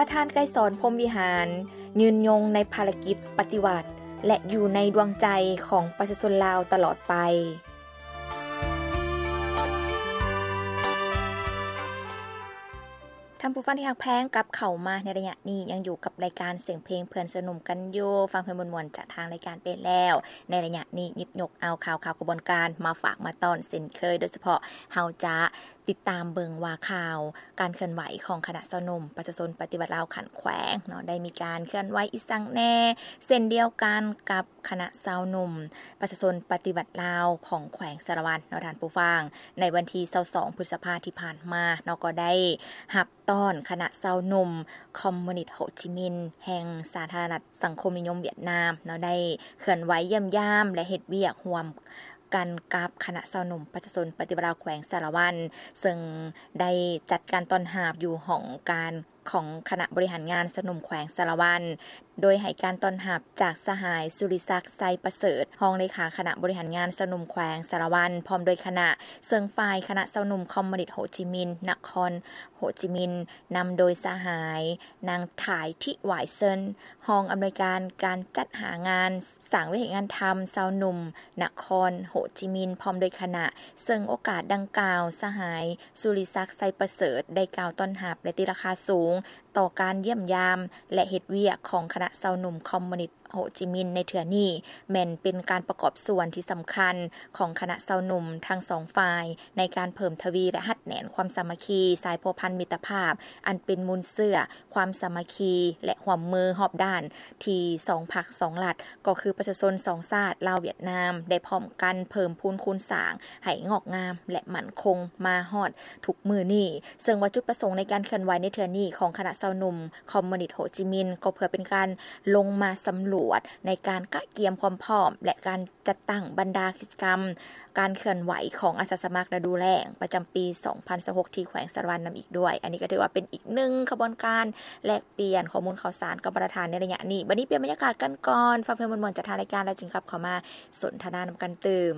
ປະທານໄກສອນ ພົມວິຫານ ຍືນຍົງໃນພາລະກິດປະຕິວັດ ແລະ ຢູ່ໃນດວງໃຈຂອງປະຊາຊົນລາວຕະຫຼອດໄປ. ທ່ານຜູ້ຟັງທີ່ຮັກແພງ, ກັບເຂົ້າມາໃນໄລຍະນີ້ ຍັງຢູ່ກັບລາຍການສຽງເພງເພື່ອນຊາວໜຸ່ມກັນຢູ່. ຟັງເພງມ່ວນໆຈາກທາງລາຍການໄປແລ້ວ. ໃນໄລຍະນີ້ ຫຍິບຍົກເອົາຂ່າວຄາວຂະບວນການມາຝາກມາຕ້ອນເຊັ່ນເຄີຍ, ໂດຍສະເພາະເຮົາຈະຕິດຕາມເບິ່ງວ່າຂ່າວການເຄື່ອນໄຫວຂອງຄະນະຊາວໜຸ່ມປະຊາຊົນປະຕິວັດລາວຂັ້ນແຂວງເນາະ ໄດ້ມີການເຄື່ອນໄຫວອີ່ສັງແດ່, ເຊັ່ນດຽວກັນກັບຄະນະຊາວໜຸ່ມປະຊາຊົນປະຕິວັດລາວຂອງແຂວງສາລະວັນເນາະ ທ່ານຜູ້ຟັງ. ໃນວັນທີຊາວສອງ ພຶດສະພາທີ່ຜ່ານມາເນາະ ກໍໄດ້ຮັບຕ້ອນຄະນະຊາວໜຸ່ມຄອມມູນິດໂຮຈິມິນ ແຫ່ງສາທາລະນະລັດສັງຄົມນິຍົມຫວຽດນາມເນາະ ໄດ້ເຄື່ອນໄຫວຢ້ຽມຢາມ ແລະ ເຮັດວຽກຮ່ວມກັນກັບຄະນະຊາວໜຸ່ມປະຊາຊົນປະຕິວັດລາວແຂວງສາລະວັນ, ເຊິ່ງໄດ້ຈັດການຕ້ອນຮັບຢູ່ຫ້ອງການຂອງຄະນະບໍລິຫານງານຊາວໜຸ່ມແຂວງສາລະວັນ, ໂດຍໃຫ້ການຕ້ອນຮັບຈາກສະຫາຍ ສຸລິສັກ ໄຊປະເສີດ ຮອງເລຂາຄະນະບໍລິຫານງານຊາວໜຸ່ມແຂວງສາລະວັນ ພ້ອມດ້ວຍຄະນະ, ເຊິ່ງຝ່າຍຄະນະຊາວໜຸ່ມຄອມມູນິດໂຮຈິມິນ ນະຄອນໂຮຈິມິນ ນຳໂດຍສະຫາຍ ນາງ ຖ່າຍ ທິຫວາຍເຊິນ ຮອງອຳນວຍການການຈັດຫາງານສ້າງວິຫານທຳຊາວໜຸ່ມນະຄອນໂຮຈິມິນ ພ້ອມດ້ວຍຄະນະ, ເຊິ່ງໂອກາດດັ່ງກ່າວ ສະຫາຍ ສຸລິສັກ ໄຊປະເສີດ ໄດ້ກ່າວຕ້ອນຮັບ ແລະ ຕີລາຄາສູງຕໍ່ການຢ້ຽມຢາມ ແລະ ເຮັດວຽກຂອງຄະນະຊາວໜຸ່ມຄອມມູນິດ ໂຮຈິມິນໃນເທື່ອນີ້ ແມ່ນເປັນການປະກອບສ່ວນທີ່ສຳຄັນຂອງຄະນະຊາວໜຸ່ມທັງສອງຝ່າຍ ໃນການເພີ່ມທະວີ ແລະ ຮັດແໜ້ນຄວາມສາມັກຄີ ສາຍພົວພັນມິດຕະພາບ ອັນເປັນມູນເຊື້ອຄວາມສາມັກຄີ ແລະ ຮ່ວມມືຮອບດ້ານທີ່ສອງພັກສອງລັດ ກໍຄືປະຊາຊົນສອງຊາດ ລາວ-ຫວຽດນາມ ໄດ້ພ້ອມກັນເພີ່ມພູນຄູນສ້າງໃຫ້ງອກງາມ ແລະ ໝັ້ນຄົງມາຮອດທຸກມື້ນີ້. ເຊິ່ງວ່າຈຸດປະສົງໃນການເຄື່ອນໄຫວໃນເທື່ອນີ້ຂອງຄະນະຊາວໜຸ່ມຄອມມູນິດໂຮຈິມິນ ກໍເພື່ອເປັນການລົງມາສຳຫຼວດໃນການກະກຽມຄວາມພ້ອມ ແລະ ການຈັດຕັ້ງບັນດາກິດຈະກຳການເຄື່ອນໄຫວຂອງອາສາສະໝັກລະດູແລ້ງປະຈຳປີສອງພັນຊາວຫົກ ທີ່ແຂວງສາລະວັນນຳອີກດ້ວຍ. ອັນນີ້ກໍຖືວ່າເປັນອີກໜຶ່ງຂະບວນການແລກປ່ຽນຂໍ້ມູນຂ່າວສານກັບບັນດາທ່ານໃນໄລຍະນີ້. ບັດນີ້ປ່ຽນບັນຍາກາດກັນກ່ອນ, ຟັງເພງມ່ວນໆຈາກທາງລາຍການ ແລ້ວຈຶ່ງກັບເຂົ້າມາສົນທະນານຳກັນຕື່ມ.